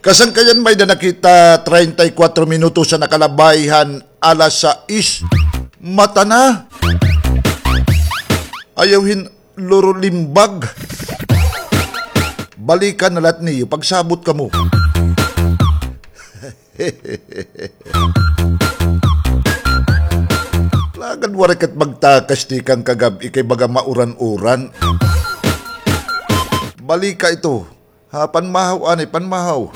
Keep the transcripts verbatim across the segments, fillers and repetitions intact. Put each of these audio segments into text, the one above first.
Kasangkayan, may-ada na kita treinta y cuatro minutos an nakalabay han alas sais. Mata na. Ayaw hin lurolimbag. Balikan na la niyo pagsabot kamo. Lagad waray kat magtakas tikang kagab-i kay baga mauran-uran. Balika ito. Ha, panmahaw anay, panmahaw.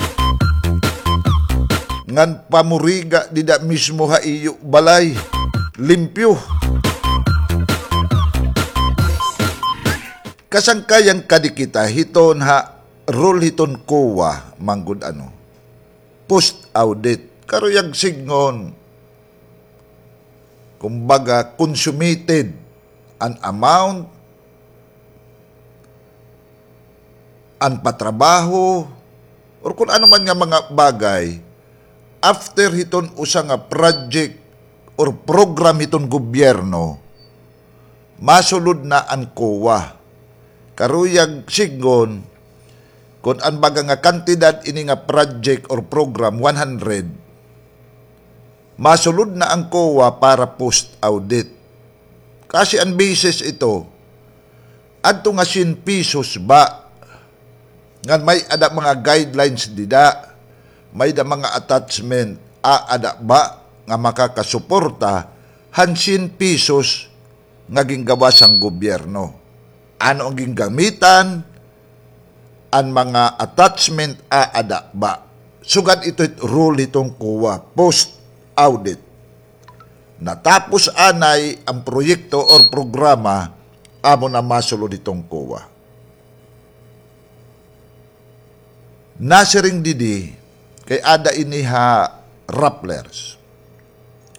Ngan pamuriga dida mismo ha iyo balay. Limpyo. Kasangkayan, kadi kita hiton ha rule hiton COA, manggod ano, post audit. Karuyag sidngon, kumbaga, consummated an amount, an patrabaho, or kun ano man nga mga bagay, after hiton usa nga project or program hiton gobyerno, masulod na an COA. Karuyag sidngon, kun an baga nga kantidad ini nga project or program, one hundred, masulod na an COA para post-audit. Kasi an basis ito, adto nga syen pesos ba, ngan may-ada mga guidelines dida, may-ada mga attachment, aada ba nga makakasuporta han syen pesos nga ginggawas han gobyerno? Ano an ginggamitan? An mga attachment, aada ba? Sugad ito hit rule hiton COA, post-audit. Natapos anay an proyekto or programa, amo na masulod hiton COA. Nasiring didi, kay ada ini ha Rappler's.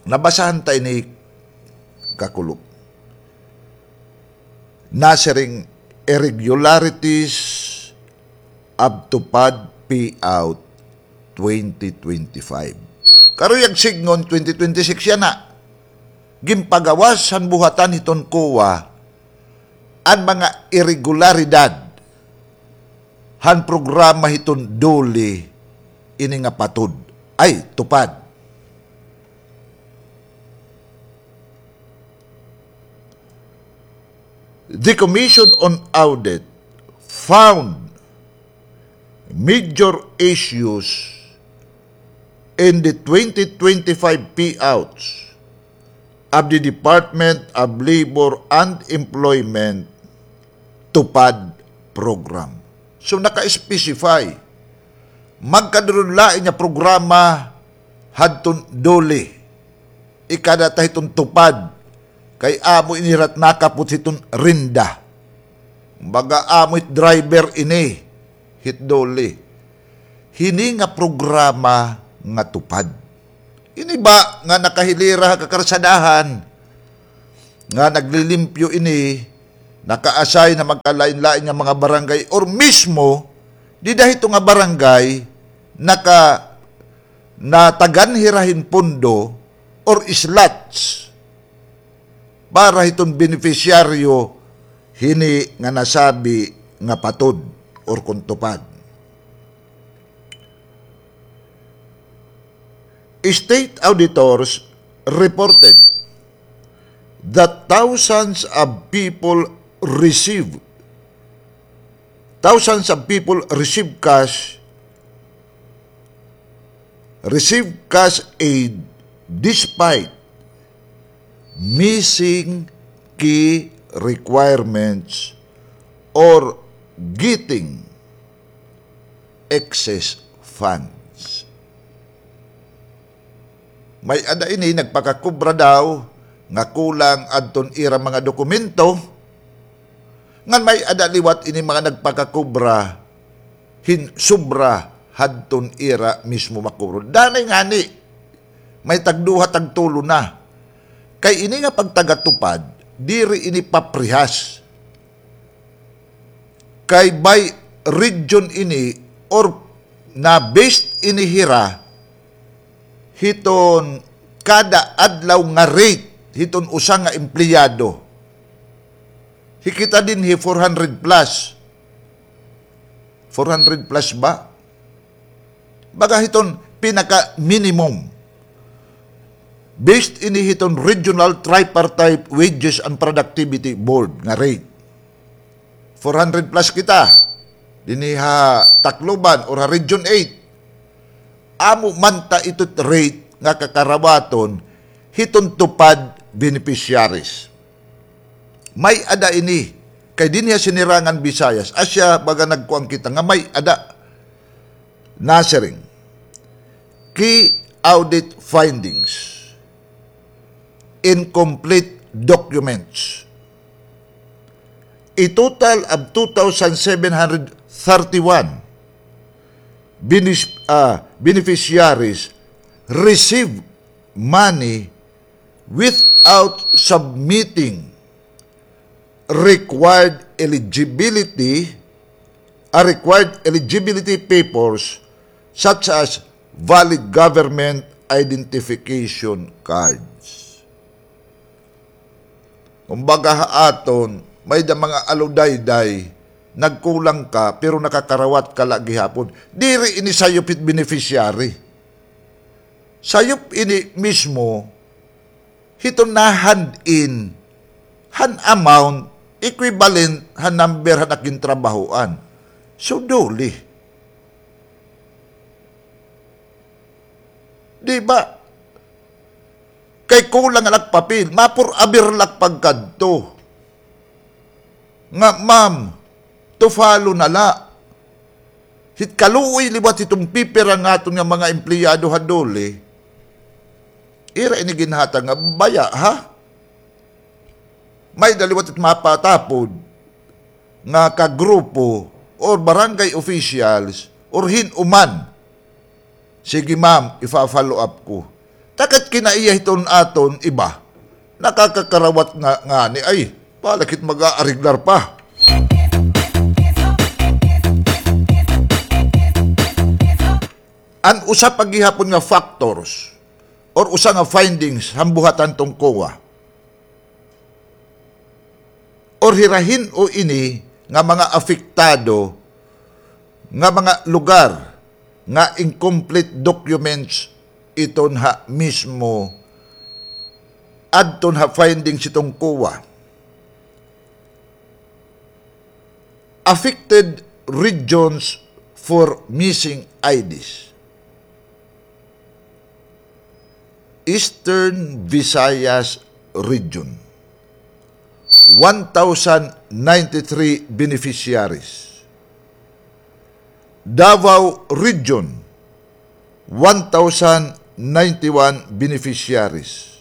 Nabasahan ta ini, kakulop. Nasiring, irregularities of TUPAD payout twenty twenty-five. Karuyag sidngon, twenty twenty-six yana. Ginpagawas han buhatan hiton COA an mga iregularidad han programa hiton DOLE ini nga PATOD, ay, TUPAD. The Commission on Audit found major issues in the twenty twenty-five payouts of the Department of Labor and Employment TUPAD program. So, naka-specify, magkaduron lain nga programa hadton DOLE. Ikada ta hiton TUPAD, kay amo ini hira it nakapot hiton RINDA. Kumbaga, amo it driver ini hit DOLE. Hini nga programa nga TUPAD. Ini ba nga nakahilira ha kakarsadahan, nga naglilimpyo ini, naka-assign ha magkalain-lain nga mga barangay, or mismo, dida hito nga barangay, naka-, natagan hira hin pondo or slots para hiton benepisyaryo hini nga nasabi nga PATOD or kon TUPAD. State auditors reported that thousands of people receive, thousands of people receive cash, receive cash aid despite missing key requirements or getting excess funds. May-ada ini nagpakakubra daw nga kulang adton ira mga dokumento, ngan may-ada liwat ini mga nagpakakubra hin sobra hadton ira mismo makubra. Danay ngani, may tagduha, tagtulo na. Kay ini nga pagtaga-TUPAD, diri ini paprehas. Kay by region ini or na-based ini hira hiton kada adlaw nga rate hiton usa nga empleyado. Hi kita dinhi four hundred plus. Four hundred plus ba? Baga hiton pinaka-minimum. Based ini hiton Regional Tripartite Wages and Productivity Board nga rate. Four hundred plus kita. Dinhi ha Tacloban or ha Region eight. Amo man ta ito rate nga kakarawaton hiton TUPAD beneficiaries. May-ada ini, kay dinhi ha Sinirangan Visayas, asya baga nagkuan kita nga may-ada. Nasiring, key audit findings, incomplete documents. A total of two thousand seven hundred thirty-one benis-, ah, beneficiaries receive money without submitting required eligibility, ah, required eligibility papers such as valid government identification cards. Kumbaga ha aton, may-ada mga aludayday, nagkulang ka, pero nakakarawat ka la gihapon. Diri ini sayop hit beneficiary. Sayop ini mismo hiton na-hand in han amount equivalent han number han ak gintrabahoan. So, dole. Di ba? Kay kulang an ak papel, ma-pour-avoir la ak pagkadto. Nga, ma'am, to follow na la. Hit kaluoy liwat hiton pipira nga aton nga mga empleyado ha dole, ira ini ginhatag nga baya, ha? May-ada liwat it mapatapod nga kagrupo or barangay officials or hin-o man. Sige, ma'am, ifa-follow up ko. Ta kat kinaiya hiton aton iba, nakakakarawat nga ngani, ay, balak hit mag-aariglar pa. An usa pa gihapon nga factors or usa nga findings han buhatan hiton COA, or hira hin-o ini nga mga apektado nga mga lugar nga incomplete documents iton ha mismo adton ha findings hiton COA. Affected regions for missing I Ds. Eastern Visayas Region, one thousand ninety-three beneficiaries. Davao Region, one thousand ninety-one beneficiaries.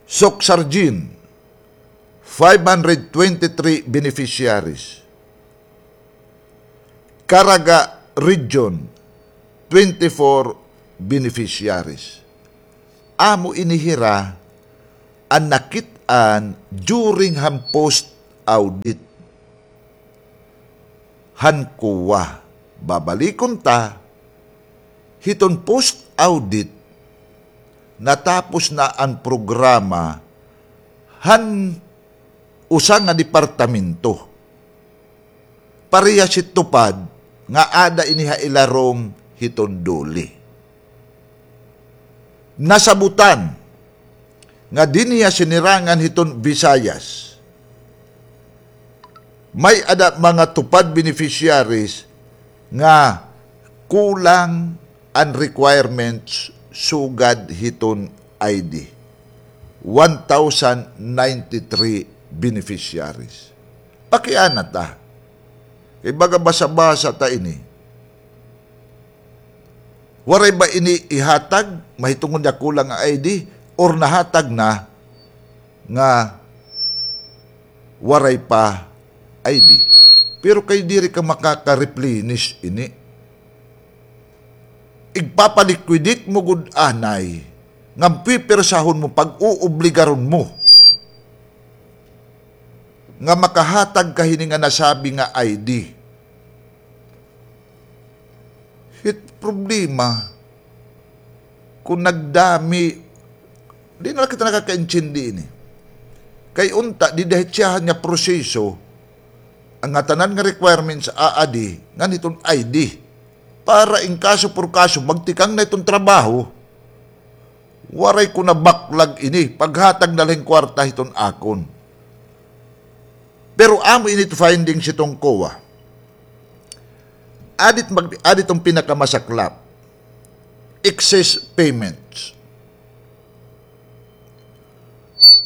Soccsksargen, five hundred twenty-three beneficiaries. Caraga Region, twenty-four beneficiaries. Amo ini hira an nakit-an during han post-audit han COA. Babalikon ta, hiton post-audit, natapos na an programa han usa nga departamento. Parehas hit TUPAD nga aada ini ha ilarom hiton DOLE. Nasabutan nga dinhi ha sinirangan hiton Visayas, may-ada mga TUPAD beneficiaries nga kulang an requirements sugad hiton I D. One thousand ninety-three beneficiaries. Pakiana ta. Kay baga basa-basa ta ini. Waray ba ini ihatag, mahitungod nga kulang an I D, or nahatag na nga waray pa I D? Pero kay diri ka makaka-replenish ini. Igpapaliquidate mo gud anay, nga pipirsahon mo, pag-uobligaron mo nga makahatag ka hini nga nasabi nga I D. It problema, kon nagdami, di na la kita nakakaintindi ini. Kay unta, dida hit siyahan nga proseso, an ngatanan nga requirements aadi ngan hiton I D. para in kaso por kaso, magtikang na iton trabaho, waray ko na baklag ini, paghatag na la hin kwarta hiton akon. Pero amo ini it findings hiton COA. Adi it mag-, adi iton pinakamasaklap. Excess payments.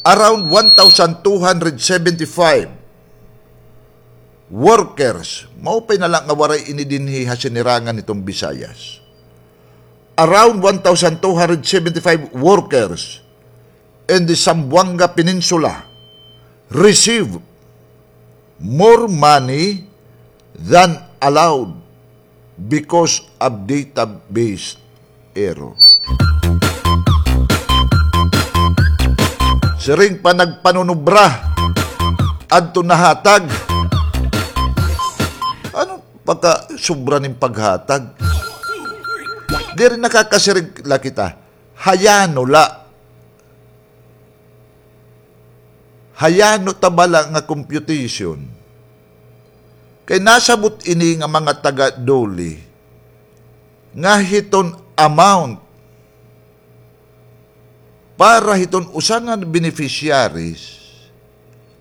Around one thousand two hundred seventy-five workers, maupay na la nga waray ini dinhi ha sinirangan hiton Visayas. Around one thousand two hundred seventy-five workers in the Zamboanga Peninsula receive more money than allowed because of database error. Siring pa nagpanunubra, adto nahatag. Ano pagkasobra nin paghatag? Diri nakakasiring la kita. Hayano la. Hayano ta bala nga computation. Kay nasabot ini nga mga taga-DOLE nga hiton amount para hiton usa nga beneficiaries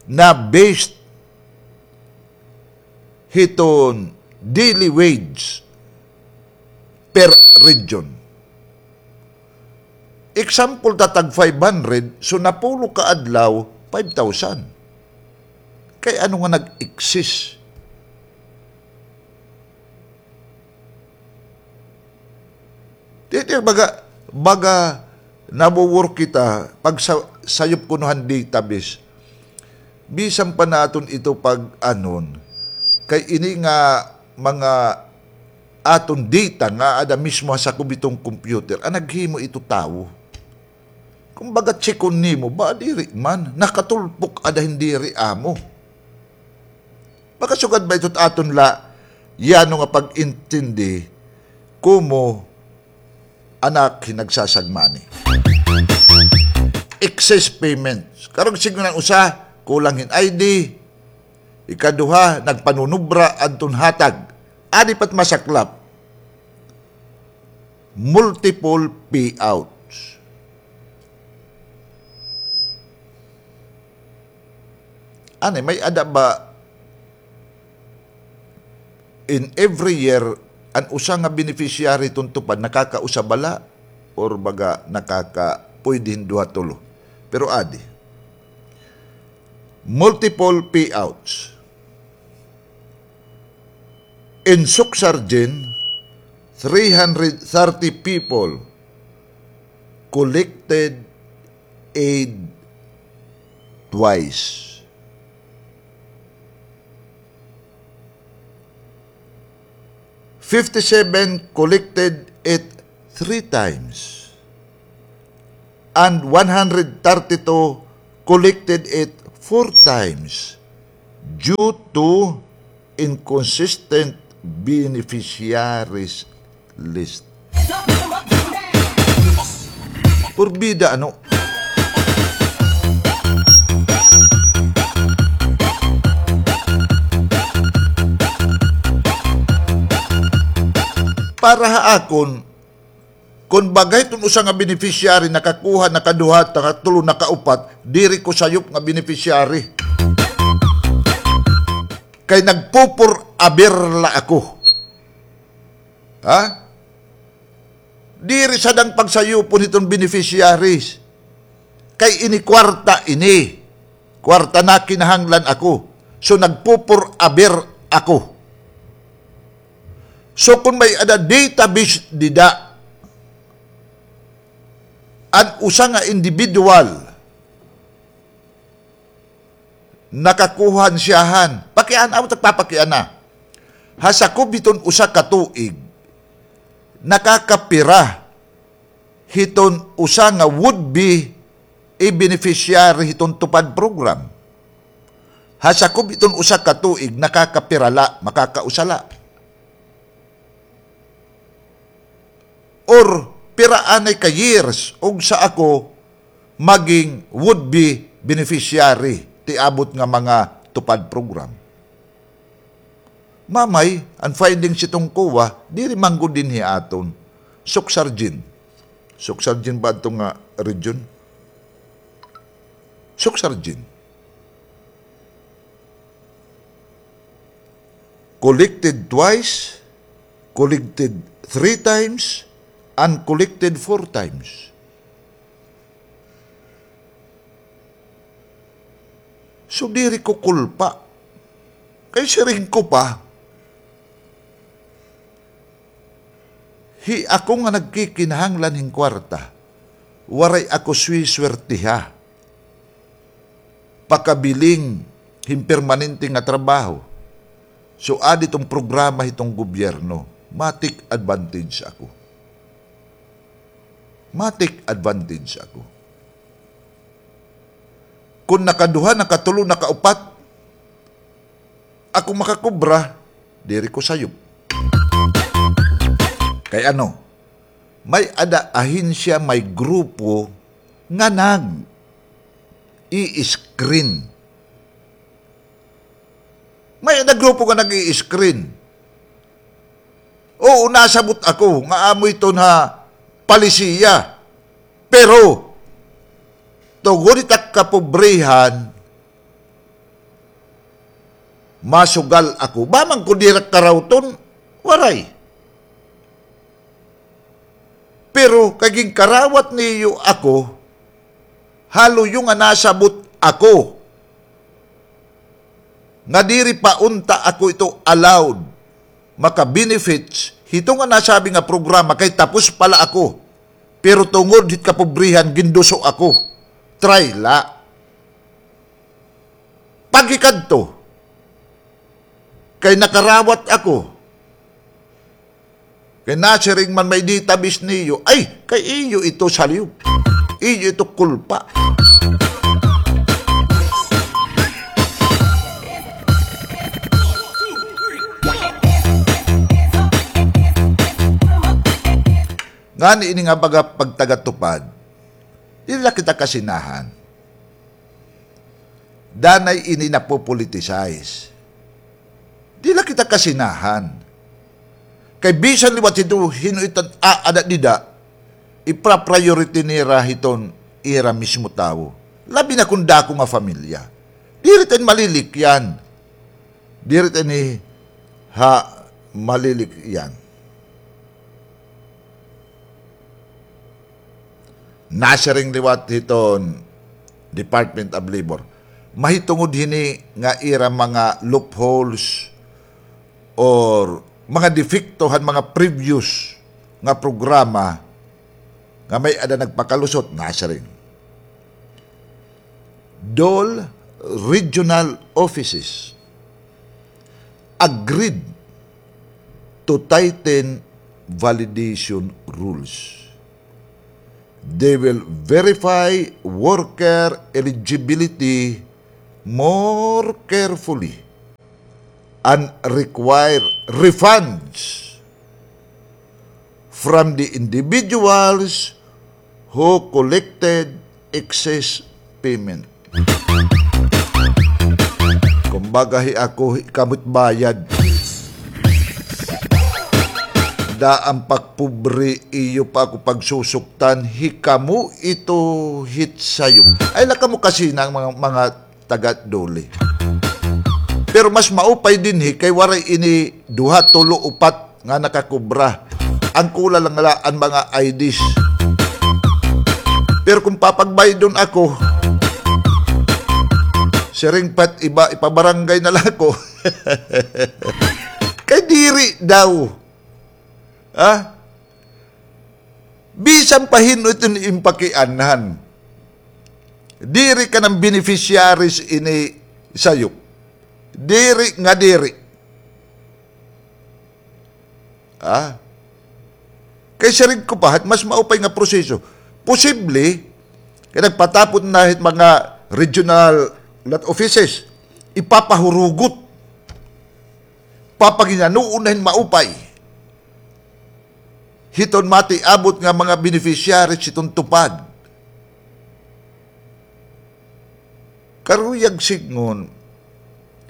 na based hiton daily wage per region. Example, ta tag five hundred, so napulo ka adlaw, five thousand. Kay ano nga nag-exist? Di, di, baga, baga, nawo-work kita, pag sa, sayop kuno han database. Bisan pa naton ito pag-anon, kay ini nga mga aton data nga ada mismo ha sakob hiton computer, an naghimo ito tawo. Kumbaga, tsikon nimo, ba, diri man, nakatulpok ada hin diri amo. Makasugad ba ito it aton la, yano nga pag-intindi, komo anak hin nagsasagmani. Excess payments. Karong siring han usa, kulang hin I D. Ikaduha, nagpanunubra adton hatag. Adi pa it masaklap. Multiple payouts. Ani, may-ada ba in every year, an usa nga beneficiary hiton TUPAD, nakakausa bala, or baga nakaka-, pwede hin duha, tulo. Pero adi. Multiple payouts. In Sucsargen, three hundred thirty people collected aid twice. Fifty-seven collected it three times, and one hundred thirty-two collected it four times due to inconsistent beneficiaries list. Purbida, ano? Para ha akon, kon baga hiton usa nga beneficiary nakakuha, nakaduha, nakatulo, nakaupat, diri ko sayop nga beneficiary. Kay nagpupur-aber la ako. Ha? Diri sad an pagsayupon hiton beneficiaries. Kay ini kwarta ini. Kwarta nga kinahanglan ako. So, nagpupur-aber ako. So, kon may-ada database dida, an usa nga individual, nakakuha han siyahan. Pakiana, amo it ak papakiana. Ha sakob hiton usa ka tuig, nakakapira hiton usa nga would be a beneficiary hiton TUPAD program. Ha sakob hiton usa ka tuig, nakakapira la, makakausa la. Or pira anay ka years, ugsa ako maging would be beneficiary ti abot nga mga TUPAD program. Mamay, an findings hiton COA, diri man gud dinhi ha aton. Suksargin. Suksargin ba adto nga region? Suksargin. Collected twice, collected three times, and collected four times. So, diri ko kulpa. Kay siring ko pa, hi ako nga nagkikinahanglan hin kwarta, waray ako swiswertiha pakabiling hin permanente nga trabaho. So, adi iton programa hiton gobyerno, ma-take advantage ako. Ma-take advantage ako. Kon nakaduha, nakatulo, nakaupat ako makakobra, diri ko sayop. Kay ano, may-ada ahensya, may grupo nga nag-i-screen. May-ada grupo nga nag-i-screen. Oo, nasabot ako nga amo iton ha palisiya. Pero, tungod hit ak kapobrehan, masugal ako. Ba man ko diri ak karawton? Waray. Pero kay ginkarawat niyo ako, ha luyo nga nasabot ako nga diri pa unta ako ito allowed maka-benefits hito nga nasabi nga programa kay tapos pa la ako. Pero tungod hit kapobrehan, ginduso ako. Try la. Paghikadto, kay nakarawat ako. Kay nasiring man may database niyo, ay, kay iyo ito sayop. Iyo ito kulpa. Ngani ini nga baga pagtagatupad, diri la kita kasinahan. Danay ini napopoliticize. Di la kita kasinahan. Kay bisan liwat hito, hin-o iton aada dida, ipra-priority nira hiton ira mismo tawo. Labi na kon dako nga pamilya. Diri ta ini malilikyan. Diri ta ini ha malilikyan. Nasiring liwat hiton Department of Labor, mahitungod hini nga ira mga loopholes or mga depekto han mga previous nga programa nga may-ada nagpakalusot, nasiring. DOLE regional offices agreed to tighten validation rules. They will verify worker eligibility more carefully and require refunds from the individuals who collected excess payment. Kumbaga, hi ako, hi kamo it bayad. Daan pa ak pobre, iyo pa ako pagsusuktan, hi kamo ito hit sayop. Ay, la kamo kasina mga, mga taga-DOLE. Pero mas maupay dinhi kay waray ini duha, tulo, upat nga nakakobra. An kulang la an mga I Ds. Pero kon papagbaydon ako, siring pa it iba, ipabarangay na la ako. Kay diri daw. Ha? Bisan pa hin-o iton im pakianhan. Diri ka na beneficiaries ini sayop. Diri nga diri. Ah? Kay siring ko pa, mas maupay nga proseso. Posible, kay nagpatapon na hit mga regional lot offices, ipapahurugot. Papanginanoon na hin maupay. Hiton matiabot nga mga beneficiaries hiton TUPAD. Karuyag sidngon,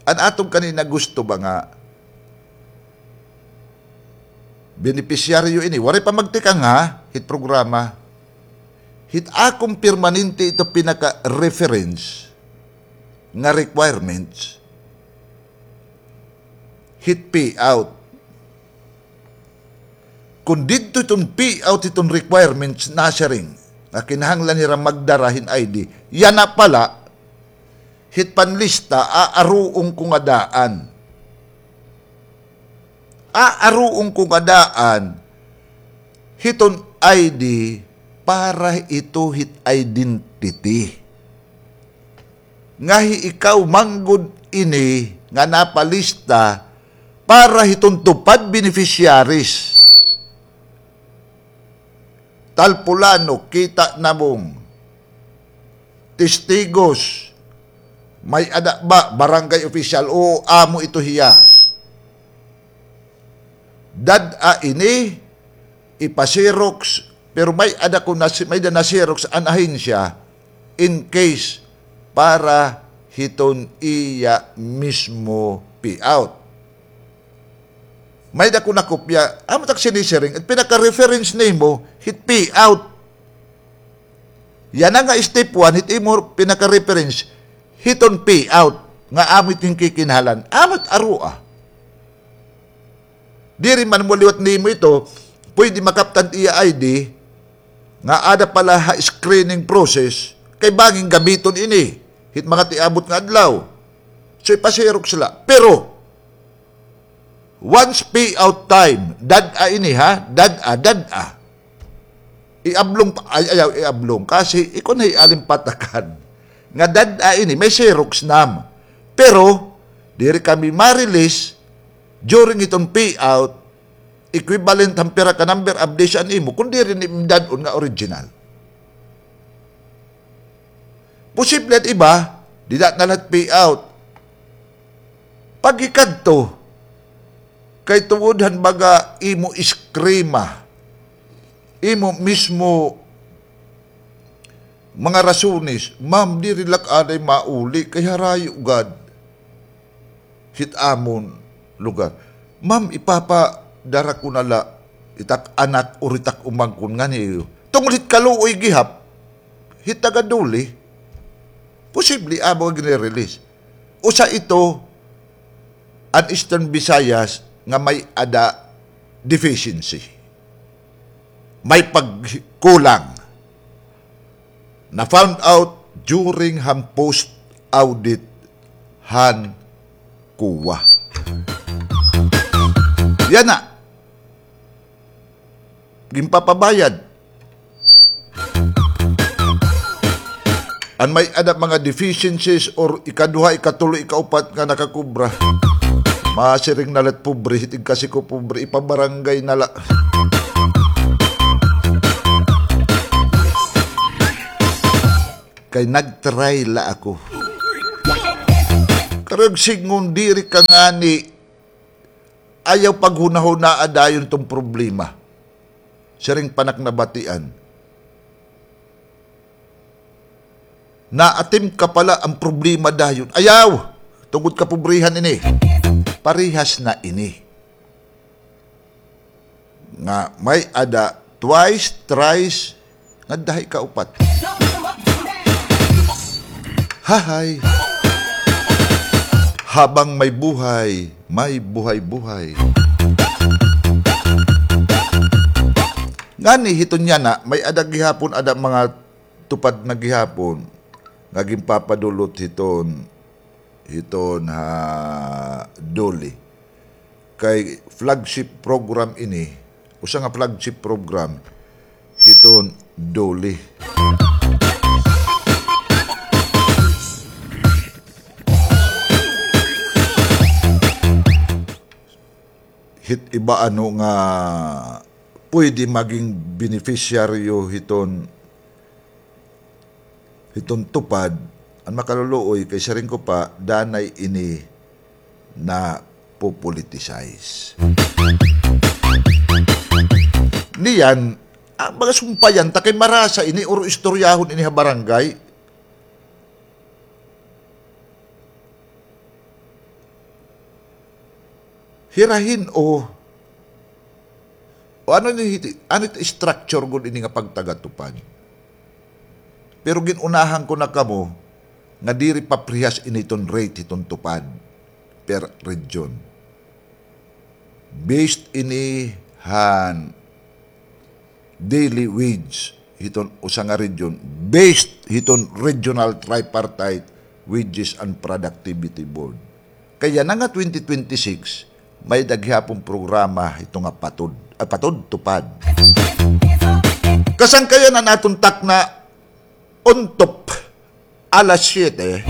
an aton kanina gusto ba nga benepisyaryo ini. Waray pa magtikang ha, hit programa. Hit akon permanente ito pinaka-reference nga requirements. Hit payout. Kon didto iton payout, iton requirements nasiring, nga kinahanglan hira magdara hin I D. Yana pala, hit panlista, aaruon ko nga daan. Aaruon ko nga daan, hiton I D para ito hit identity. Nga hi ikaw man gud ini nga napalista para hiton TUPAD beneficiaries. Tal Pulano, kita namon. Testigos, may-ada ba, barangay official, oo, amo ito hiya. Dad-a ini, ipa-xerox, pero may-ada ko na, may-ada na-xerox an ahensya in case para hiton iya mismo payout. May-ada ko nakopya, amo tak sinisiring, it pinaka-reference nimo, hit payout. Yana nga step one, hit imo pinaka-reference, hiton payout, nga amo it kinahanglan, amo it aroa. Diri man mo liwat nimo ito, pwede makaptan iya I D, nga ada pala ha screening process, kay bangin gamiton ini, hit mga tiabot nga adlaw. So, ipa-xerox la. Pero, once payout time, dad-a ini ha, dad-a, dad-a. Iablong pa, ay, ayaw, iablong. Kasi, ikon hay alimpatakan. Nga dad-a ini, may xerox nam. Pero, diri kami ma-release during iton payout, equivalent han pira ka number of days an imo, kun diri ni dad-on nga original. Posible an iba, dida na la hit payout. Paghikadto, kay tungod han baga imo iskrima, imo mismo mga rasones, ma'am, diri la ak anay mauli, kay harayo gad hit amon lugar. Ma'am, ipapadara ko na la it ak anak or it ak umangkon nganhi iyo. Tungod hit kaluoy gihap hit taga Dole, posible amo nga gini-release. Usa ito an Eastern Visayas nga may-ada deficiency. May pagkulang. Na-found out during han post-audit han COA. Yana. Ginpapabayad. An may-ada mga deficiencies or ikaduha, ikatulo, ikaupat nga nakakubra. Masiring na la it pobre, hitig kasi ko pobre, ipabarangay na la. Kay nag-try la ako. Karuyag sidngon diri ka ngani, ayaw paghunahunaa dayon iton problema. Siring pa nak nabatian. Naatim ka pala an problema dayon. Ayaw! Tungod kapobrehan ini. Parehas na ini. Nga may-ada twice, thrice, ngadto ha ikaupat. Hahay. Habang may buhay, may buhay-buhay. Ngani hiton yana, may-ada gihapon, ada mga tupad na gihapon nga ginpapadulot hiton, hiton ha Dole. Kay flagship program ini, usa nga flagship program hiton Dole. Hit iba ano nga pwede maging beneficiaryo hiton, hiton tupad, an makaluluoy kay siring ko pa, danay ini napopoliticize. Niyan, ah, baga sumpayan ta kay marasa ini or istoryahon ini ha barangay. Hira hin-o O ano ni hiti, ano it structure gud ini nga pagtaga TUPAD? Pero gin-unahan ko na kamo nga diri paprehas ini hiton rate hiton TUPAD per region. Based ini han daily wage hiton usa nga region, based hiton Regional Tripartite Wages and Productivity Board. Kay yana nga twenty twenty-six, may-ada gihapon programa hito nga patod, ah, patod, TUPAD. Kasangkayan an aton takna, Untop, alas siyete.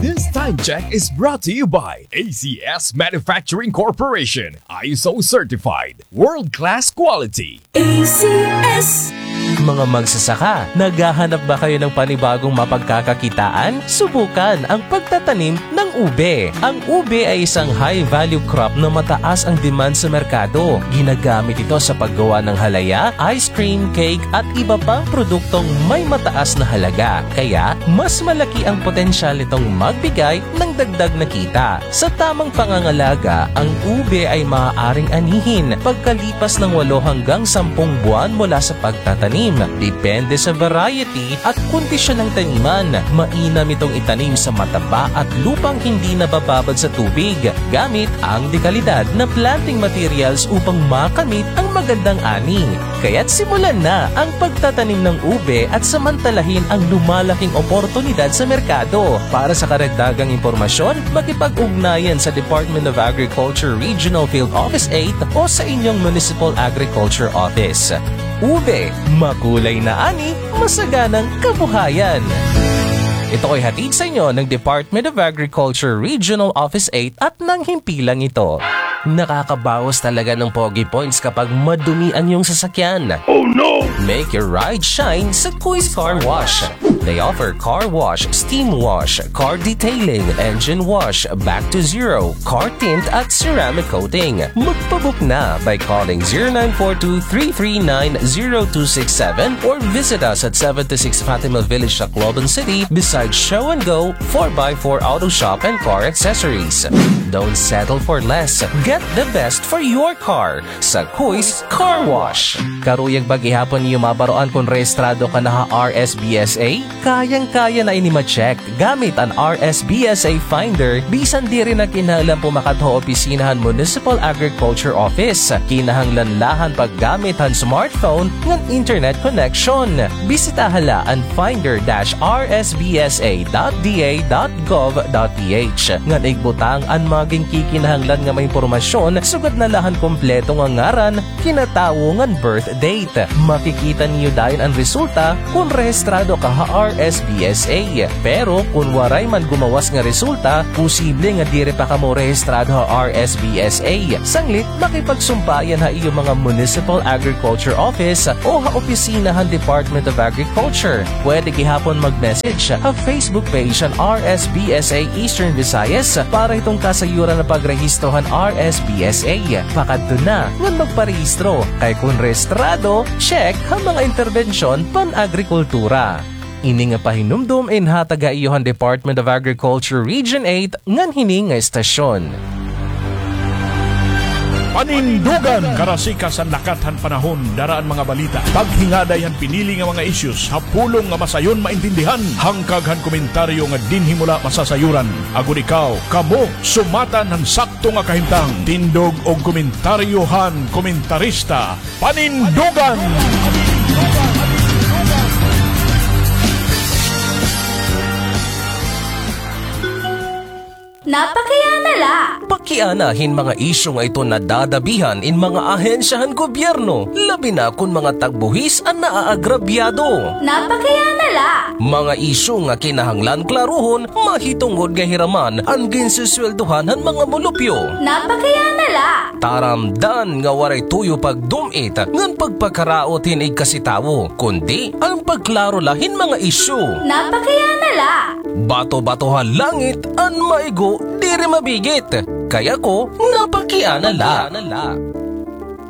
This time check is brought to you by A C S Manufacturing Corporation, I S O certified, world-class quality. A C S. Mga magsasaka, naghahanap ba kayo ng panibagong mapagkakakitaan? Subukan ang pagtatanim ng ube. Ang ube ay isang high-value crop na mataas ang demand sa merkado. Ginagamit ito sa paggawa ng halaya, ice cream, cake, at iba pang produktong may mataas na halaga. Kaya, mas malaki ang potensyal nitong magbigay ng dagdag na kita. Sa tamang pangangalaga, ang ube ay maaaring anihin pagkalipas ng walo hanggang sampung buwan mula sa pagtatanim. Depende sa variety at kondisyon ng taniman. Mainam itong itanim sa mataba at lupang hindi nabababad sa tubig, gamit ang dekalidad na planting materials upang makamit ang magandang ani. Kaya't simulan na ang pagtatanim ng ube at samantalahin ang lumalaking oportunidad sa merkado. Para sa karagdagang impormasyon, makipag-ugnayan sa Department of Agriculture Regional Field Office eight o sa inyong Municipal Agriculture Office. Ube, makulay na ani, masaganang kabuhayan. Ito ay hatid sa inyo ng Department of Agriculture Regional Office eight at ng himpilang ito. Nakakabawas talaga ng pogi points kapag madumi ang iyong sasakyan. Oh no! Make your ride shine sa Kuis Car Wash. They offer car wash, steam wash, car detailing, engine wash, back to zero, car tint at ceramic coating. Magpabook na by calling zero nine four two three three nine zero two six seven or visit us at seventy-six Fatima Village, Tacloban City, beside Show and Go, four by four Auto Shop and Car Accessories. Don't settle for less. Get the best for your car sa Kuis Car Wash. Karuyag ba gihapon niyo mabaroan kon rehistrado ka na ha R S B S A? Kayang-kaya na ini ma-check gamit an R S B S A Finder, bisan diri na kinahanglan pumakat ha opisina han Municipal Agriculture Office. Kinahanglan la han paggamit han smartphone ngan internet connection. Bisitaha la an finder dash R S B S A dot D A dot gov dot P H. Ngan igbutang an mga ginkikinahanglan nga mga impormasyon, sugad na la han kompleto nga ngaran, kinatawo ngan birth date. Makikita niyo dayon an resulta kon rehistrado ka ha R S B S A. Pero kon waray man gumawas nga resulta, posible nga diri pa kamo rehistrado ha R S B S A. Sanglit, makipagsumpa yan ha iyo mga Municipal Agriculture Office o ha opisina han Department of Agriculture. Pwede gihapon mag-message ha Facebook page han R S B S A Eastern Visayas para hiton kasayuran nga pagrehistro han R S B S A. Pakadto na ngan magparehistro, kay kon rehistrado, check ha mga interbensyon pan-agrikultura. Ini nga pahinumdom inhatag ha iyo han Department of Agriculture Region eight ngan hini nga estasyon. Panindugan! Karasikas han lakat han panahon, dara an mga balita. Paghingaday han pinili nga mga issues ha pulong nga masayon maintindihan. Hangkag han komentaryo nga dinhi mo la masasayuran. Agod ikaw, kamo, sumatan han sakto nga kahimtang. Tindog og komentaryo han komentarista. Panindugan! Napakiana la! Pakiana hin mga isyu nga ito nadadabihan in mga ahensya han gobyerno, labi na kon mga tagbuhis an naaagrabyado. Napakiana la! Mga isyu nga kinahanglan klaruhon, mahitungod nga hiraman an ginsusweldohan han mga mulupyo. Napakiana la! Taramdan nga waray tuyo pagdum-it ngan pagpakaraot hin igkasi tawo, kundi an pagklaro la hin mga isyu. Napakiana la! Bato-bato ha langit an maigo diri mabigit. Kay ako, napakiana la.